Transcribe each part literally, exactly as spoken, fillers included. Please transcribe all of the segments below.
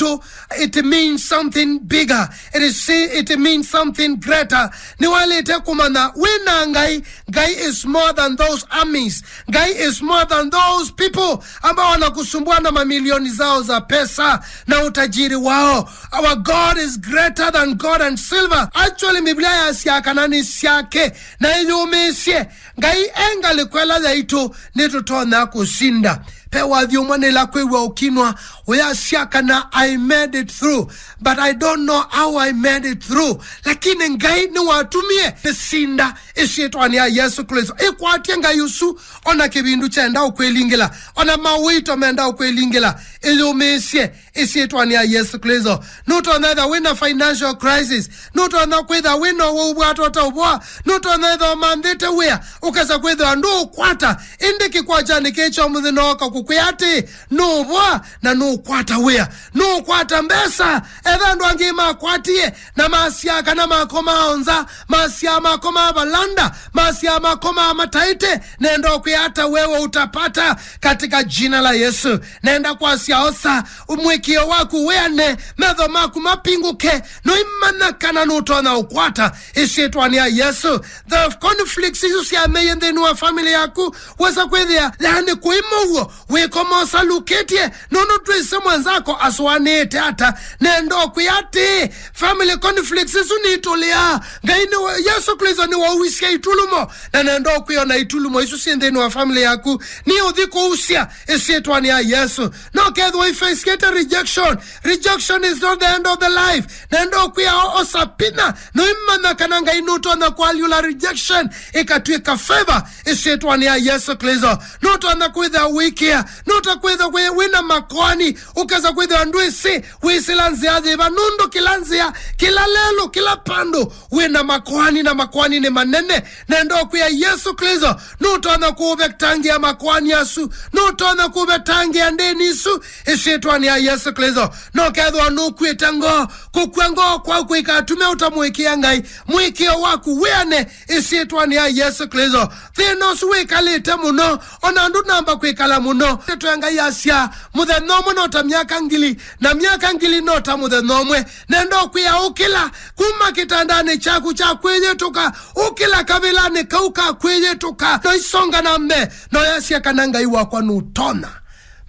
yaitũ, it means something bigger. It is, it means something greater. Nĩwaĩlĩte kũmanya wĩna Ngai. Ngai is more than those armies. Ngai is more than those people ambao wanakusumbua na mamilioni zao za pesa na utajiri wao. Our God is greater than gold and silver. Actually, Biblia yasya kana nĩ syake na ĩyũmĩĩsye. Ngai e ngalĩko ĩla yaitũ, nĩtũtonya kũsinda. Ve wathi ũmwe nĩla kwĩw'a ũkinwa, ũyasya kana, "I made it through, but I don't know how I made it through." Lakini Ngai nĩwatumie nĩsinda ĩsyĩtwanĩ ya Yesu Kristo. Ĩkwatye Ngai ũsu, ona kĩvindu kyenda ũkwĩlingĩla, ona mawĩto menda ũkwĩlingĩla, ĩyũmĩĩsye ĩsyĩtwanĩ ya Yesu Kristo. Nũtonya ĩtha wĩna financial crisis. Nũtonya kwĩtha wĩna ũwau bwata ũtaũvoa. Nũtonya ĩtha ũmanthĩte wĩa, ũkesa kwĩthĩwa ndũũkwata. Ĩndĩ kĩkwatyanĩ kĩĩ kya mũthĩ nooka kũkwĩa atĩ, nũũvoa na nũũkwata wĩa. Nũũkwata mbesa. Etha andũ angĩ makwatie na masyaa kana makomaa nza, masyaa makomaa valanda, masyaa makomaa mataĩte, nenda ũkwĩa ata wewe utapata katika jina la Yesu. Nenda kwasya osa, mwĩkĩo waku wĩane, metho maku mapingũke, noimanya kana nũtonya ũkwata ĩsyĩtwanĩ ya Yesu. The conflicts isu syameie nthĩnĩ wa family yaku, wesa kwĩthĩa, yani kũima ũw'o, wĩkoma ũsalukĩtye, nũndũ twĩsĩ mwenzako asũanĩĩte ata. Nenda ũkwĩa atĩ, family conflicts isu nitũlĩaa. Ngai nĩ, Yesu Kristo nĩwauisye itulumo, na nenda ũkwĩa ona itulumo isu syĩ nthĩnĩ wa family yaku, nĩ ũthi kũusya ĩsyĩtwanĩ ya Yesu. No kethwa ifesikĩte rejection. Rejection is not the end of the life. Nenda ũkwĩa o, osa pinya, noimanya kana Ngai nũtonya kũalyũla rejection ĩkatw'ĩka favor ĩsyĩtwanĩ ya Yesu Kristo. Nũtonya kwĩthĩa ũikĩa, nũta kwĩthĩa kwĩ, wĩna makoani, ũkesa kwĩthĩa ndwĩsĩ wĩsĩla nzĩa yĩva, nũndũ kĩla nzĩa, kĩla lelũ, kĩla pandũ wĩna makoani, na makoani nĩ manene. Nenda ũkwĩa Yesu Kristo nũtonya kũvetangĩa makoani asu, nũtonya kũvetangĩa ndĩni isu ĩsyĩtwanĩ ya Yesu Kristo. No kethwa nũkw'ĩte ngoo, kũkw'a ngoo kwaku kũikatume ũtamũĩkĩa Ngai. Mwĩkĩo waku wĩane ĩsyĩtwanĩ ya Yesu Kristo. Thĩna ũsu wĩkalĩte mũno, ona andũ namba kwĩkala mũno. Ndeto ya Ngai yasya, mũthenya ũmwe no ta myaka ngili, na myaka ngili no ta mũthenya ũmwe. Nenda ũkwĩa ũkĩla kuma kĩtandanĩ kyaku kya kwĩyĩtũka, ũkĩla kavĩlanĩ kau ka kwĩyĩtũka, no isonga na mbee, no yasya kana Ngai wakwa nũtonya.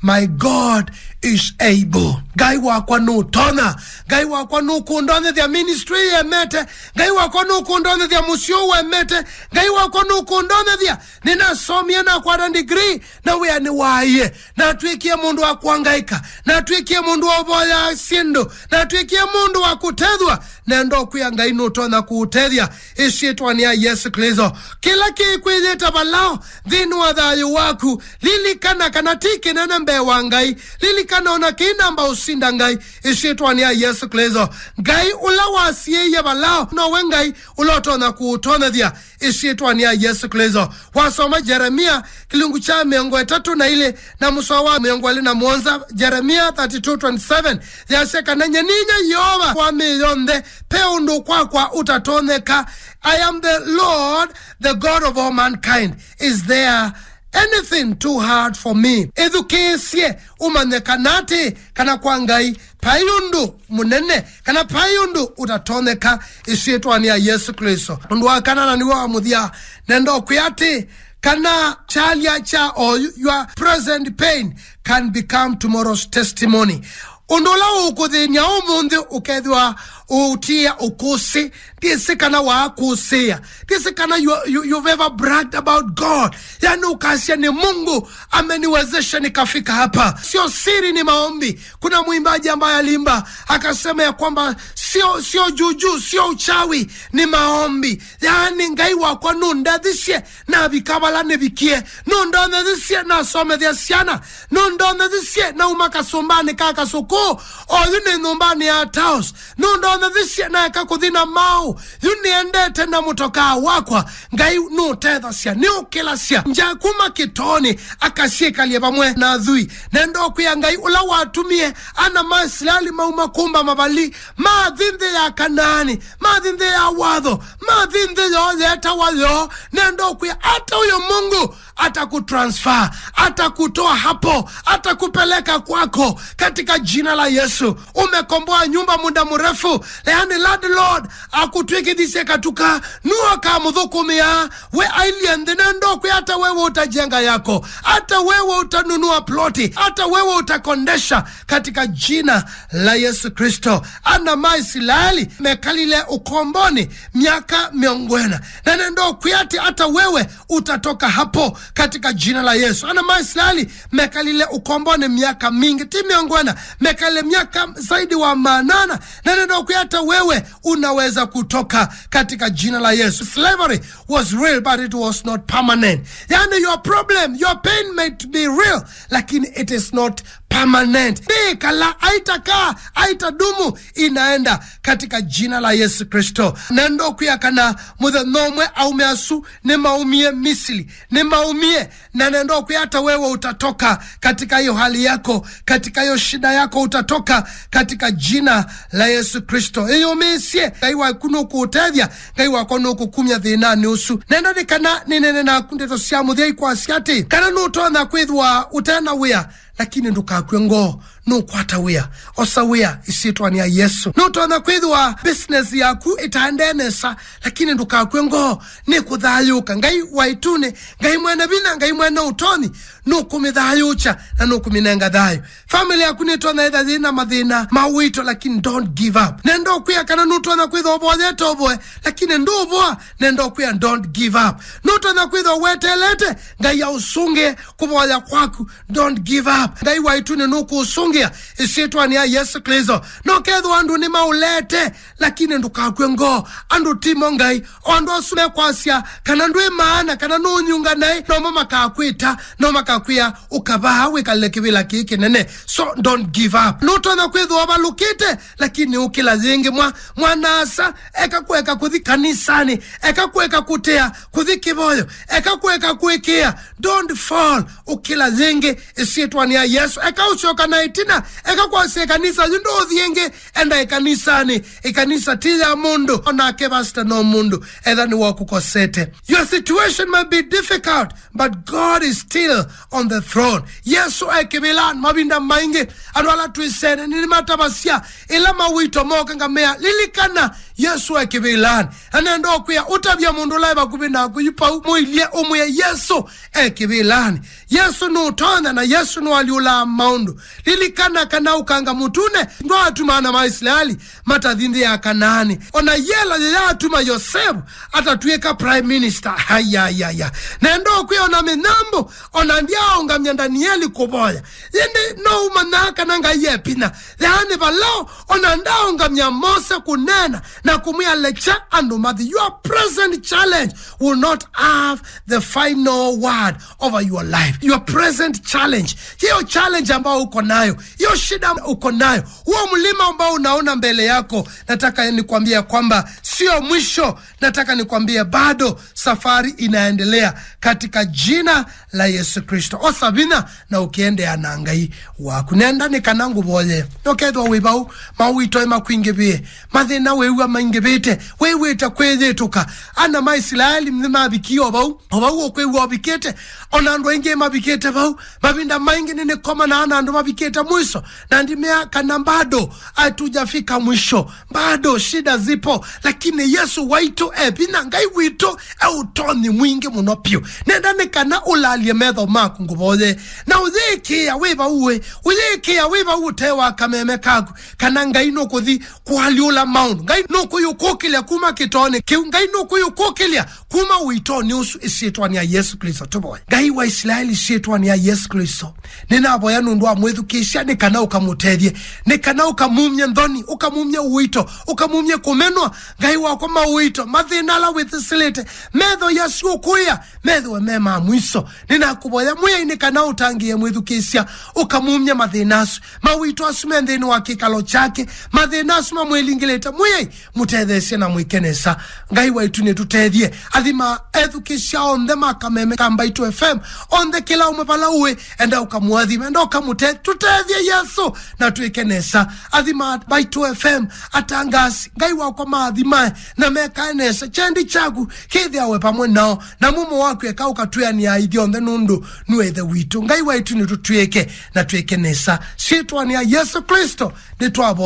My God is able. Ngai wakwa nũtonya. Ngai wakwa nũkũndonyethya ministry yemete. Ngai wakwa nũkũndonyethya mũsyĩ ũũ wemete. Ngai wakwa nũkũndonyethya. Nĩnasomie, nakwata degree, na wĩa nĩwaaie. Natw'ĩkie mũndũ wa kwangaĩka. Natw'ĩkie mũndũ wa ũvoya syĩndũ. Natw'ĩkie mũndũ wa kũtethwa. Nenda ũkwĩa Ngai nũtonya kũũtethya ĩsyĩtwanĩ ya Yesu Kristo. Kĩla kĩkwĩyĩta valao nthĩnĩ wa thayũ waku, lilikana kana ti kĩnene mbee wa Ngai. Lilikana ona kĩinamba ũsinda Ngai ĩsyĩtwanĩ ya Yesu Kristo. Ngai ũla wasiĩie valao nowe Ngai ũla ũtonya kũũtonyethya ĩsyĩtwanĩ ya Yesu Kristo. Wasoma Jeremia kĩlungu kya mĩongo ĩtatũ na ilĩ na mũsoa wa mĩongo ĩlĩ na mũonza, Jeremia thirty-two twenty-seven, yasya kana, "Nyie ninya Yeova wa mĩĩ yonthe, pe ũndũ kwakwa ũtatonyeka. I am the Lord, the God of all mankind. Is there anything too hard for me?" Ĩthukĩĩsye ũmanye kana atĩ, kana kwa Ngai vai ũndũ mũnene, kana vai ũndũ ũtatonyeka ĩsyĩtwanĩ ya Yesu Kristo. Ũndũ wa kana na nĩw'o wa mũthya, nenda ũkwĩa atĩ, kana kyalya kya oyu, your present pain can become tomorrow's testimony. Ũndũ ũla ũkũthĩny'a ũmũnthĩ ũkethĩwa ũũtia ũkũsĩ. Ndiĩsĩ kana waakũsĩĩa. Ndiĩsĩ kana you, you, you've ever bragged about God. Yani ũkasya nĩ Mungu ameniwezesha nikafika hapa. Sio siri, ni maombi. Kuna mwimbaji ambaye aliimba, akasema ya kwamba sio, sio juju, sio uchawi, ni maombi. Yani Ngai wakwa nũndethisye navika vala nĩvikie. Nũndonethisye nasomethya syana. Nũndonethisye nauma kasũmbanĩ ka kasũkũ. Oyu nĩ nyũmbanĩ ya Taos. Nũndonethisye naeka kũthi na maũ. Yu nĩendete na mũtokaa wakwa. Ngai nũtethasya, nĩũkĩlasya nja kuma kĩtoonĩ, akasyĩkalye vamwe na athui. Nenda ũkwĩa Ngai ũla watumie ana ma Isilaeli mauma kũmba mavali, mathi nthĩ ya Kanaani, mathi nthĩ ya watho, mathi nthĩ yoo yetawa yoo. Nenda ũkwĩa ata ũyũ Mungu Atakutransfer, atakutoa hapo, atakupeleka kwako katika jina la Yesu. Umekomboa nyumba muda mrefu, yaani landlord akutwikithisye katuka, nuo kamuthukumia, we ailie nthĩ, na ndokwĩ hata wewe utajenga yako, hata wewe utanunua ploti, hata wewe utakondesha katika jina la Yesu Kristo. Ana ma Isilaeli mekalile ukomboni miaka mĩongo ĩna, na nĩndokwĩa atĩ hata wewe utatoka hapo katika jina la Yesu. Ana ma Israeli mekalile ukomboni miaka mingi, ti mĩongo ĩna, mekalile miaka zaidi wa maana nana, na nĩndokwĩa hata wewe unaweza kutoka katika jina la Yesu. Slavery was real, but it was not permanent. Yani, your problem, your pain might be real, lakini it is not permanent. Ndĩkala, aitaka, aitadumu, inaenda katika jina la Yesu Kristo. Na ndokwĩa kana mũthenya ũmwe aũme asu nĩmaumie Misili, nĩmaumie, na nĩndokwĩa hata wewe utatoka katika hiyo hali yako, katika hiyo shida yako, utatoka katika jina la Yesu Kristo. Ĩyũmĩĩsye, Ngai waku nũkũũtethya, Ngai wakwa nũkũkumya thĩnanĩ ũsu. Nenda nĩ kana nĩnene naku ndeto sya mũthya ikwasya atĩ, kana nũtonya kwĩthwa ũtena wĩa, lakini ndũkakw'e ngoo, nũkwata wĩa. Osa wĩa ĩsyĩtwanĩ ya Yesu. Nũtonya kwĩthwa business yaku ĩtaendee nesa, lakini ndũkakw'e ngoo, nĩkũthayũũka. Ngai wa ĩtunĩ, Ngai mwene vinya, Ngai mwene ũtonyi, nũkũmĩthayũũkya na nũkũmĩnenga thayũ. Family yaku nĩtonya ĩtha yĩna mathĩna ma ũito, lakini don't give up. Nenda ũkwĩa kana nũtonya kwĩthwa ũvoyete ũvoe, lakini ndũũvoa, nenda ũkwĩa don't give up. Nũtonya kwĩthwa wetelete Ngai aũsũngĩe kũvoya kwaku, don't give up. Ngai wa ĩtunĩ nũkũũsũngĩa ĩsyĩtwanĩ ya Yesu Kristo. Nokethwa andũ nĩmaũlete, lakini ndũkakw'e ngoo. Andũ timo Ngai. O andũ asu mekwasya kana ndwĩ maana, kana nũũnyunga naĩ, nomo makakwĩta, no makakwĩa ũkavaa wĩkalile kĩvĩla kĩĩ kĩnene. So don't give up. Nũtonya kwĩthwa ũvalũkĩte, lakini ũkĩla yĩngĩ. Mwa, mwana-a-asa, eka kũeka kũthi kanisanĩ, eka kũeka kũtea kũthi kĩvoyo, eka kũeka kũĩkĩĩa. Don't fall. Ũkĩla yĩngĩ ĩsyĩtwanĩ ya Yesu. Eka ũsyoka na ĩtina, eka kwasya ĩkanisa yu ndũũthi ĩngĩ, enda ĩkanisanĩ. Ĩkanisa ti ya mũndũ, onake pastor no mũndũ, etha nĩwakũkosete. Your situation might be difficult, but God is still on the throne. Yesu e kĩvĩlanĩ. Mavinda maingĩ andũ ala twĩsene nĩmatavasya ĩla mawĩto moka, ngamea, lilikana Yesu e kĩvĩlanĩ. Na nenda ũkwĩa, ũtavya mũndũ ũla e vakuvĩ naku yu pau, mũilye, ũmwĩe, Yesu e kĩvĩlanĩ. Yesu nũtonya na Yesu nũalyũlaa maũndũ. Lilikana kana ũkanga mũtune ndwaatuma ana ma Isilaeli matathi nthĩ ya Kanaani. Ona yela yĩyaatuma Yosevu atatw'ĩka prime minister. Ayayaya. Nenda ũkwĩa, ona mĩnyambũ, ona ndyaaũngamya Ndanieli kũvoya. Ĩndĩ no ũmanyaa kana Ngai e vinya. Yaani, vala ona ndaaũngamya Mose kũneena na kũmwĩa, lekya andũ mathi. Your present challenge will not have the final word over your life. Your present challenge, hiyo challenge ambayo uko nayo, hiyo shida uko nayo, huo mlima ambao unaona mbele yako, nataka nikwambie ya kwamba sio mwisho. Nataka nikwambie bado safari inaendelea katika jina la Yesu Kristo. Osa vinya na ũkĩendeea na Ngai waku. Nenda nĩ kana ngũvoye. Nokethwa wĩ vau, mawĩto makwingĩvĩe, mathĩna wĩw'a maingĩvĩte, wĩw'ĩte kwĩyĩtũka. Ana ma Isilaeli nĩmavikie o vau, o vau ũkwĩw'a ũvikĩte. Ona andũ aingĩ mavikĩte vau. Mavinda maingĩ nĩnĩkomanaa na andũ mavikĩte mwiso, na ndimea kana bado hatujafika mwisho, bado shida zipo, lakini Yesu waitũ e vinya, Ngai witũ e ũtonyi mwingĩ mũno vyũ. Nenda nĩ kana ũlalye metho maku ngũvoye, na ũyĩkĩa wĩ vau ũĩ, ũyĩkĩa wĩ vau ũtee wa kameme kaku, kana Ngai nũkũthi kũalyũla maũndũ. Ngai nũkũyũkũkĩlya kuma kĩtoonĩ kĩu. Ngai nũkũyũkũkĩlya kuma ũitonĩ ũsu ĩsyĩtwanĩ ya Yesu Kristo. Tũvoye. Ngai wa Isilaeli, ĩsyĩtwanĩ ya Yesu Kristo, nĩnavoya nũndũ wa mwĩthukĩĩsya nĩ kana ũkamũtethye, nĩ kana ũkamumye nthoni, ũkamumye ũito, ũkamumye kũmenwa. Ngai wakwa, maũito, mathĩna ala wĩthĩsĩlĩte, metho yasyo ũkũĩa, methĩwe me ma mwiso. Nĩnakũvoya Mwĩai nĩ kana ũtangĩĩe mwĩthukĩĩsya, ũkamumye mathĩna asu. Mawĩto asu me nthĩnĩ wa kĩkalo kyake, mathĩna asu mamwĩlingĩlĩte, Mwĩai, mũtetheesye na mwĩke nesa. Ngai waitũ, nĩtũtethye. Athima ethukĩsya onthe ma kameme ka Mbaitũ F M, onthe kĩla ũmwe vala ũĩ, enda ũkamũathime, enda ũkamũte-, tũtethye Yesũ na twĩke nesa. Athima Mbaitũ F M, atangasi, Ngai wakwa maathime na mekae nesa. Kyendi kyaku kĩthĩawe pamwe nao, na mumo waku eka ũkatwĩanĩa ithyonthe nũndũ nue Ĩthe witũ. Ngai waitũ nĩtũtwĩke na twĩke nesa. Syĩtwanĩ ya Yesũ Klĩsto nĩtwavo